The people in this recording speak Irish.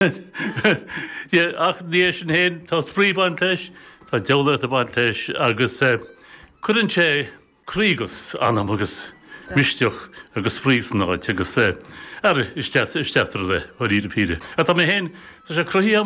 Ach ina dhiaidh sin féin, tá spraoi ag baint leis, tá diabhlaíocht ag baint leis agus cuireann sé croí agus anam agus misneach agus spraoi san áit agus ara, is deas, is deas an rud é, dáiríre píre. Ach tá mé féin, tá sé cruthaithe agam.